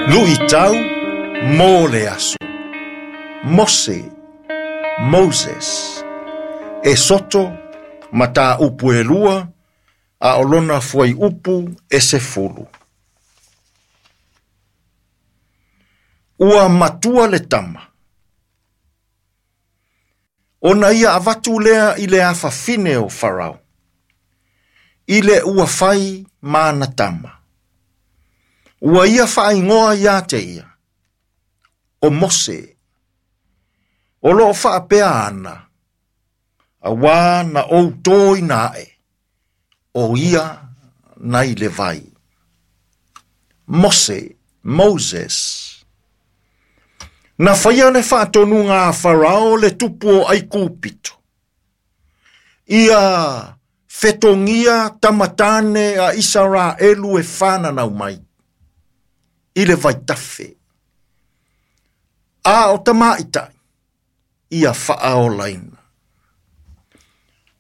Luitau mo le aso. Mose, Moses. Esoto, mataupu e 2, a o lona fuaiupu e 10. Ua matua le tama. Ona ia avatu lea i le afafine o Farao, i le ua fai ma ana tama. Ua ia faaigoa ia te ia, o Mose, o loo faapea ana, auā na ou tōina aʻe, o ia nai le vai. Mose, Moses. Na faia le faatonuga a Farao le tupu o Aikupito. Ia fetogia tamatane a Isaraelu e whananau mai i le vaitafe. A o tamaitai ia faaolaina.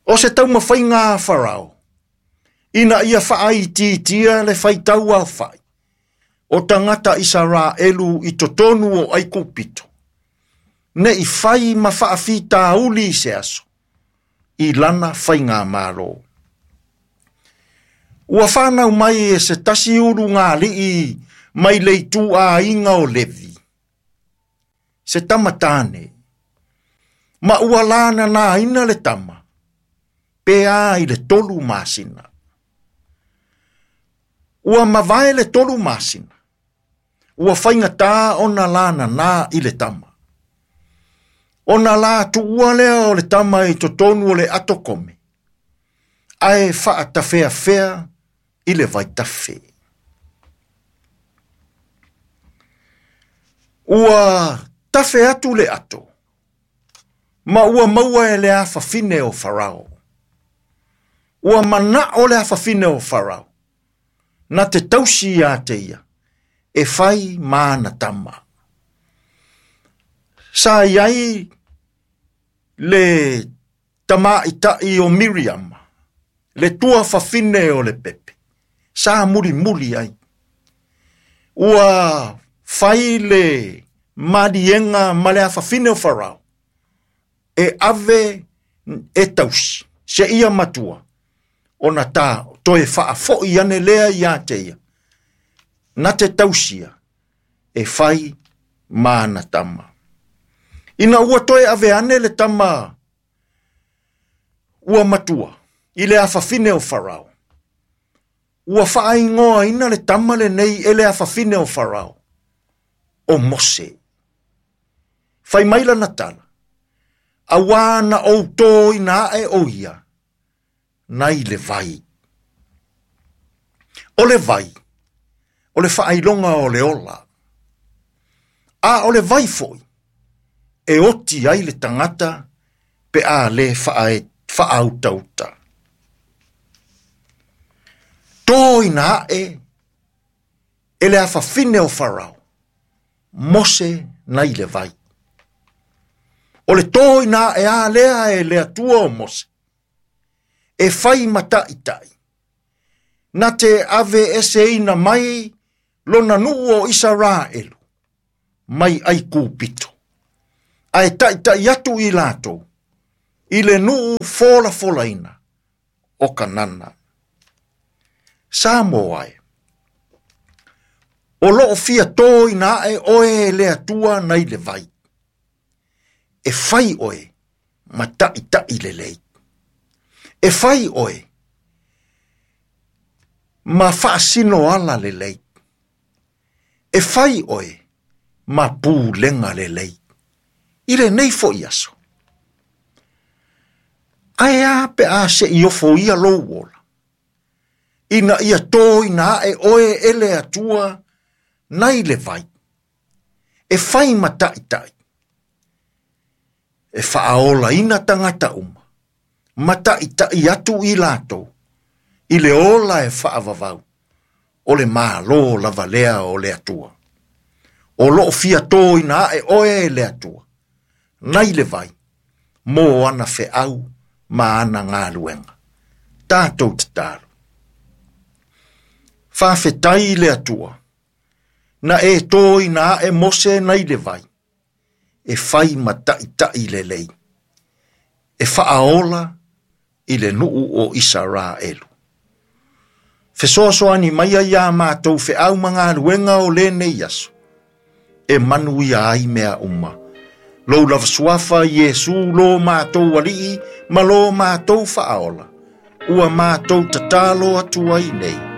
O se taumafaiga a Farao, ina ia faaitiitia le faitau aofai o tagata Isaraelu i totonu o Aikupito, ne i fai ma faafitauli i se aso i lana faigamalo. Ua whanau mai e se tasi ulugalii mai le ituaiga o Levi, se tama tāne, ma ua lananaina le tama, pe a i le 3 masina. Ua mavae le 3 masina, ua faigata ona lanana i le tama. Ona la tuua lea o le tama i totonu o le atokome, ae faatafeafea i le vaitafe. Ua tafe atu le ato, ma ua maua e le afafine o Farao. Ua manao le afafine o Farao, na te tausi ia te ia, e fai ma ana tama. Sa iai le tamaitai o Miriam, le tuafafine o le pepe, sa mulimuli ai. Ua fai le maliega ma le afafine o Farao, e ave e tausi, se ia matua, ona tā toe faafoi ane lea ia te ia, na te tausia e fai ma ana tama. Ina ua toe ave ane le tama ua matua i le afafine o Farao, ua faaigoaina le tama lenei e le afafine o Farao, o Mose. Fai mai lana tala, auā na ou tōina aʻe o ia, nai le vai. O le vai, o le faailoga o le ola. A o le vai foi, e oti ai le tagata pe a le faautauta. Tōina aʻe e le afafine o Farao, Mose nai le vai. O le tōina aʻe a lea e le Atua o Mose, e fai ma taʻitaʻi, na te ave eseina mai lona nuu o Isaraelu, mai Aikupito, ae taʻitaʻi atu i latou, i le nuu folafolaina o Kanana. Samoa e, o loo fia tōina aʻe oe e le Atua nai le vai, e fai oe ma taʻitaʻi lelei. E fai oe ma faasino ala lelei. E fai oe ma pulega lelei. I lenei foʻi aso. Ae a pe a seʻi ofoia lou ola, ina ia tōina aʻe oe e le Atua nai le vai, e fai ma taʻitaʻi, e faaolaina tagata uma, ma taʻitaʻi atu i latou, i le ola e faavavau, o le malo lava lea o le Atua. O loo fia tōina aʻe oe e le Atua, nai le vai, mo ana feau ma ana galuega. Tatou tatalo. Faafetai i le Atua, Na e tōina aʻe Mose nai le vai, e fai ma taʻitaʻi lelei, e faaola i le nuu o Isaraelu. Fesoasoani mai ai iā matou feau ma galuega o lenei aso, e manuia ai mea uma. Lou lava suafa Iesu lo matou Alii ma lo matou Faaola, ua matou tatalo atu ai nei.